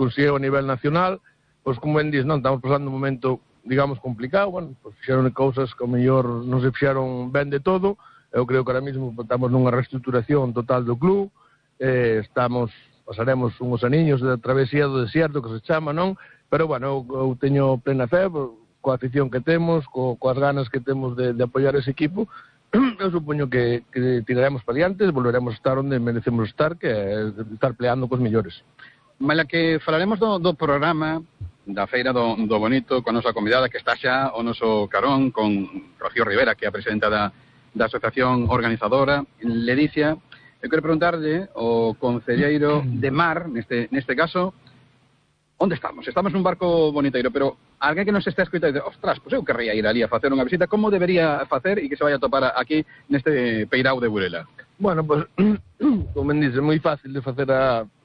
conseguiu a nivel nacional, pois como ben dis, non, estamos pasando un momento, digamos, complicado, bueno, pois fixeron cousas que ao mellor non se fixeron ben de todo. Eu creo que ahora mesmo estamos nunha reestructuración total do club, pasaremos unhos aniños de travesía do desierto, que se chama, non? Pero, bueno, eu teño plena fe, coa afición que temos, coas ganas que temos de apoiar ese equipo. Eu supoño que tiraremos para diante, volveremos a estar onde merecemos estar, que é estar peleando cos mellores. Mala que falaremos do programa da Feira do Bonito con a nosa convidada que está xa o noso carón con Rocío Rivera, que é a presidenta da asociación organizadora. Ledicia, eu quero preguntarlle ao concelleiro de Mar, neste caso, onde estamos? Estamos nun barco boniteiro, pero alguén que nos está escoitando dice, ostras, pois eu querría ir ali a facer unha visita, como debería facer e que se vaya a topar aquí neste peirao de Burela? Bueno, pois, como me dice, é moi fácil de facer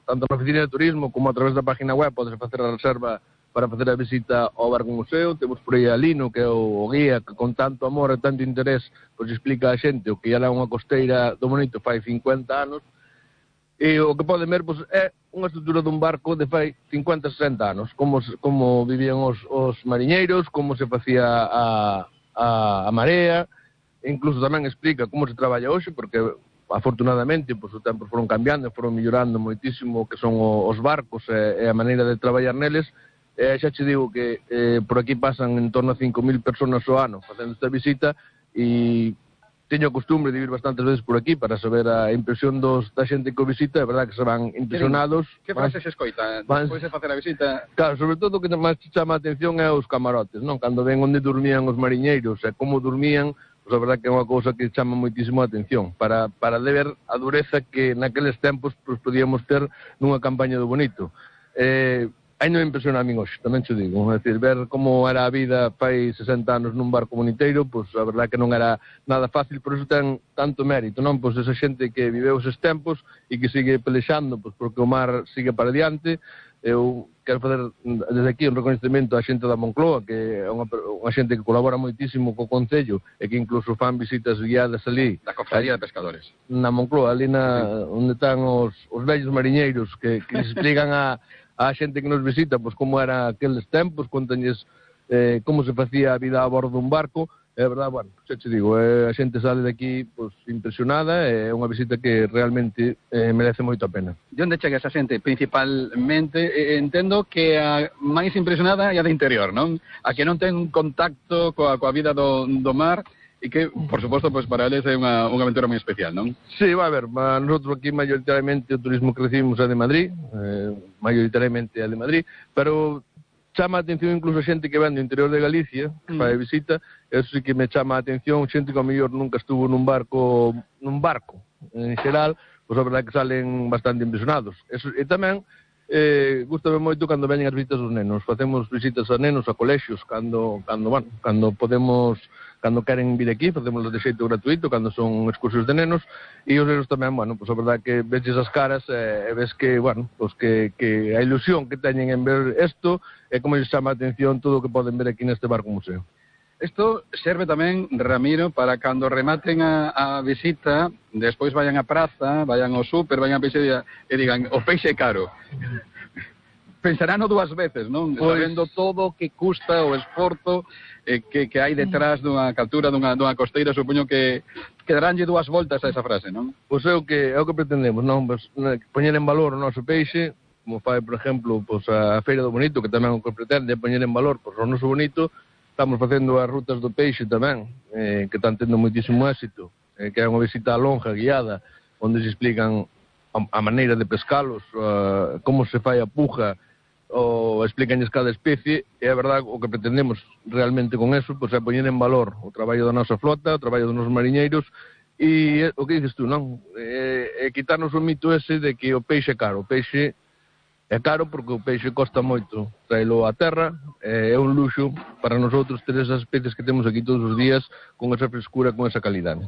tanto na oficina de turismo como a través da página web, podes facer a reserva para facer a visita ao barco museo. Temos por aí a Lino, que é o guía, que con tanto amor e tanto interés pois explica a xente o que era unha costeira do Bonito fai 50 anos. E o que poden ver pois, é unha estrutura dun barco de fai 50, 60 anos, como vivían os mariñeiros, como se facía a marea, e incluso tamén explica como se traballa hoxe, porque afortunadamente pois, os tempos foron cambiando, foron mellorando moitísimo o que son os barcos e a maneira de traballar neles. Xa che digo que por aquí pasan en torno a 5.000 personas ao ano facendo esta visita, e teño a costumbre de ir bastantes veces por aquí para saber a impresión da xente que o visita. É verdad que se van impresionados. Que frases se escoita despois de facer a visita? Claro, sobre todo o que máis chama a atención é os camarotes, non? Cando ven onde dormían os mariñeiros e como dormían, pois a verdad que é unha cousa que chama moitísimo a atención para ver a dureza que naqueles tempos pois, podíamos ter nunha campaña do Bonito. Aí non me impresiona a min hoxe, tamén te digo. É dicir, ver como era a vida fai 60 anos nun barco boniteiro, pois a verdade que non era nada fácil, por iso ten tanto mérito, non? Pois esa xente que viveu eses tempos e que sigue pelexando, pois porque o mar sigue para diante. Eu quero facer desde aquí un reconhecimento á xente da Moncloa, que é unha xente que colabora moitísimo co Concello e que incluso fan visitas guiadas ali. Da Cofradía de Pescadores. Na Moncloa, ali onde están os vellos mariñeiros que explican a xente que nos visita, pois como era aqueles tempos, contañes como se facía a vida a bordo dun barco. É verdade, bueno, xa te digo, a xente sale de aquí pois, impresionada, é unha visita que realmente merece moito a pena. De onde chega esa xente? Principalmente, entendo que a máis impresionada é a de interior, non? A que non ten contacto coa vida do mar, e que, por suposto, pues, para eles é unha aventura moi especial, non? Sí, va a ver, nosotros aquí maioritariamente o turismo que recibimos é de Madrid, maioritariamente é de Madrid, pero chama a atención incluso a xente que ven do interior de Galicia, que fai visita. Eso sí que me chama a atención, xente que ao mellor nunca estuvo nun barco en xeral, pois a verdade que salen bastante impresionados. Eso, e tamén gustame moito cando veñen as visitas dos nenos. Facemos visitas a nenos, a colexios, cando podemos, cando queren vir aquí, facemos de xeito gratuito, cando son excursións de nenos, e os nenos tamén, bueno, pois a verdade que veches as caras e ves que, bueno, pois que a ilusión que teñen en ver isto é como lles chama a atención todo o que poden ver aquí neste barco museo. Isto serve tamén, Ramiro, para cando rematen a visita, despois vayan á praza, vayan ao súper, vayan a peixería e digan, o peixe é caro. Pensarán dúas veces, non? Pois... Sabendo todo o que custa o esforzo que hai detrás dunha captura dunha costeira, supoño que daránlle dúas voltas a esa frase, non? Pois é o que pretendemos, non? Pues, poñer en valor o noso peixe, como fai, por exemplo, pues, a Feira do Bonito, que tamén o que pretende poñer en valor pues, o noso bonito. Estamos facendo as rutas do peixe tamén, que están tendo moitísimo éxito, que é unha visita longa, guiada, onde se explican a maneira de pescalos, como se fai a puja, ou explicanlles cada especie, e é verdade o que pretendemos realmente con eso, pois é poñer en valor o traballo da nosa flota, o traballo dos nosos mariñeiros, e o que dices tú, non? É quitarnos o mito ese de que o peixe é caro. O peixe é caro porque o peixe costa moito traelo á terra, é un luxo para nosotros ter esas especies que temos aquí todos os días con esa frescura, con esa calidade.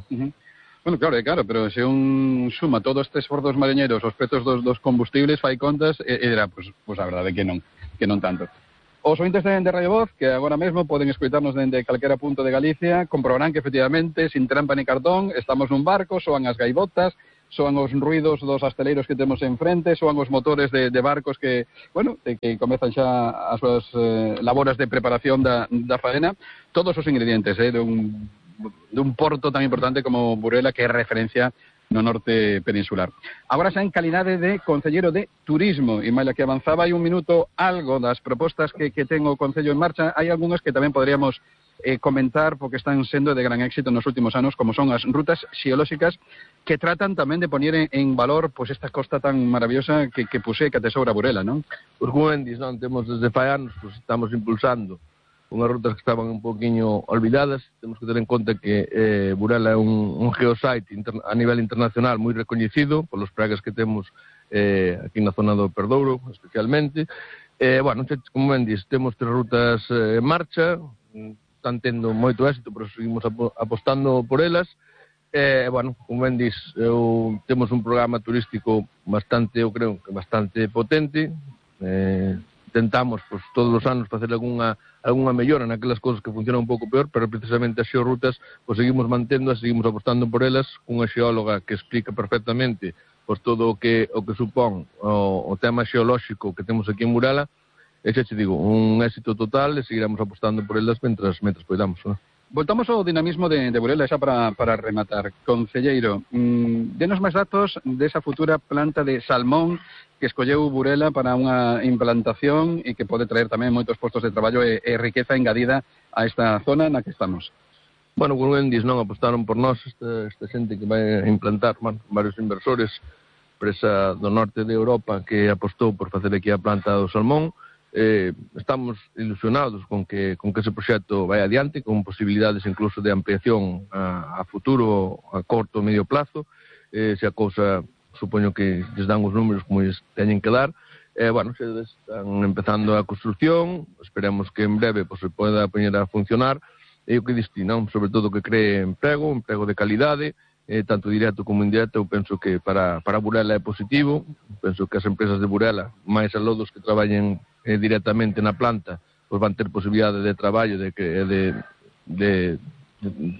Bueno, claro, pero se un suma todo este esforzo dos mariñeiros, os prezos dos combustibles, fai contas, e dirá, pues a verdade que non tanto. Os ointes de Radio Voz, que agora mesmo poden escoitarnos dende calquera punto de Galicia, comprobarán que efectivamente, sin trampa ni cartón, estamos nun barco, soan as gaivotas, soan os ruidos dos asteleiros que temos enfrente, soan os motores de barcos que, bueno, que comezan xa as súas laboras de preparación da faena, todos os ingredientes dun porto tan importante como Burela, que é referencia no norte peninsular. Agora xa en calidade de concelleiro de turismo, e maila que avanzaba hai un minuto algo das propostas que ten o Concello en marcha, hai algunhas que tamén podríamos comentar porque están sendo de gran éxito nos últimos anos, como son as rutas xeolóxicas que tratan tamén de poñer en valor pues esta costa tan maravillosa que posee, que atesoura Burela, non? Pues como ben dis, non, temos desde fai anos, pues estamos impulsando unhas rutas que estaban un poquinho olvidadas. Temos que ter en conta que Burela é un geosite a nivel internacional moi recoñecido polos pragas que temos aquí na zona do Perdouro, especialmente. Bueno, como ben dis, temos 3 rutas en marcha, están tendo moito éxito, pero seguimos apostando por elas. Bueno, como ben dis, temos un programa turístico bastante, eu creo que bastante potente. Intentamos, pues, todos os anos facer algunha mellora naquelas cousas que funcionan un pouco peor, pero precisamente as xeorrutas, pues, seguimos mantendo, seguimos apostando por elas, cunha xeóloga que explica perfectamente pues, todo o que supón o tema xeolóxico que temos aquí en Burela. E xa te digo, un éxito total, e seguiremos apostando por elas mentras poidamos, non? Voltamos ao dinamismo de Burela, xa para rematar. Concelleiro, denos máis datos desa futura planta de salmón que escolleu Burela para unha implantación e que pode traer tamén moitos postos de traballo e riqueza engadida a esta zona na que estamos. Bueno, como ben dis, non apostaron por nós esta xente que vai implantar, varios inversores, empresa do norte de Europa que apostou por facer aquí a planta do salmón. Estamos ilusionados con que ese proxecto vai adiante, con posibilidades incluso de ampliación a futuro, a corto o medio plazo, se a cousa supoño que lles dan os números como lles teñen que dar. Bueno, se están empezando a construcción, esperemos que en breve pues, se poda poñer a funcionar, e o que diste, non? Sobre todo que cree emprego de calidade, tanto directo como indirecto. Eu penso que para Burela é positivo, penso que as empresas de Burela, máis aló dos que traballen directamente na planta, pues van ter posibilidade de traballo, de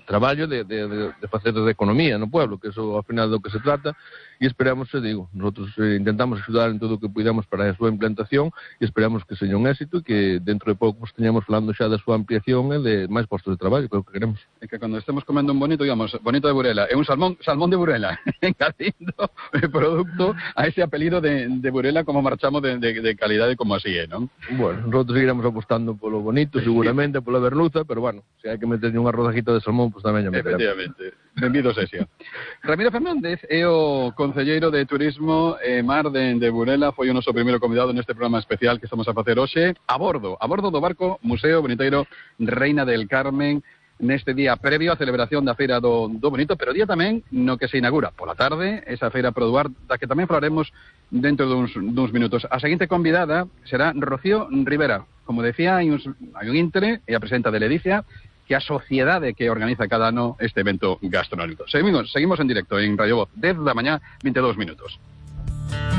traballo, de facer de economía no pueblo, que eso ao final do que se trata, e esperamos, digo, nosotros intentamos axudar en todo o que puidamos para a súa implantación e esperamos que seña un éxito e que dentro de pouco pues, teñamos falando xa da súa ampliación e de máis postos de traballo, que é o que queremos. É que cando estemos comendo un bonito, digamos, bonito de Burela, é un salmón de Burela, engadindo o produto a ese apelido de Burela, como marchamos de calidade como así é, non? Bueno, nosotros seguiremos apostando polo bonito, seguramente, pola berluza, pero bueno, se hai que meterlle unha rodajita de salmón, pues tamén a meteremos. Efectivamente. Benvido sesio. Ramiro Fernández é o concelleiro de Turismo e Mar de Burela, foi o noso primeiro convidado neste programa especial que estamos a facer hoxe a bordo do barco Museo Boniteiro Reina del Carmen, neste día previo á celebración da Feira do Bonito, pero día tamén no que se inaugura pola tarde esa Feira Produar, da que tamén falaremos dentro duns minutos. A seguinte convidada será Rocío Rivera. Como decía, hai un intre e a presidenta de Ledicia, que a sociedade que organiza cada ano este evento gastronómico. Seguimos en directo en Radio Voz, 10 da mañá, 22 minutos.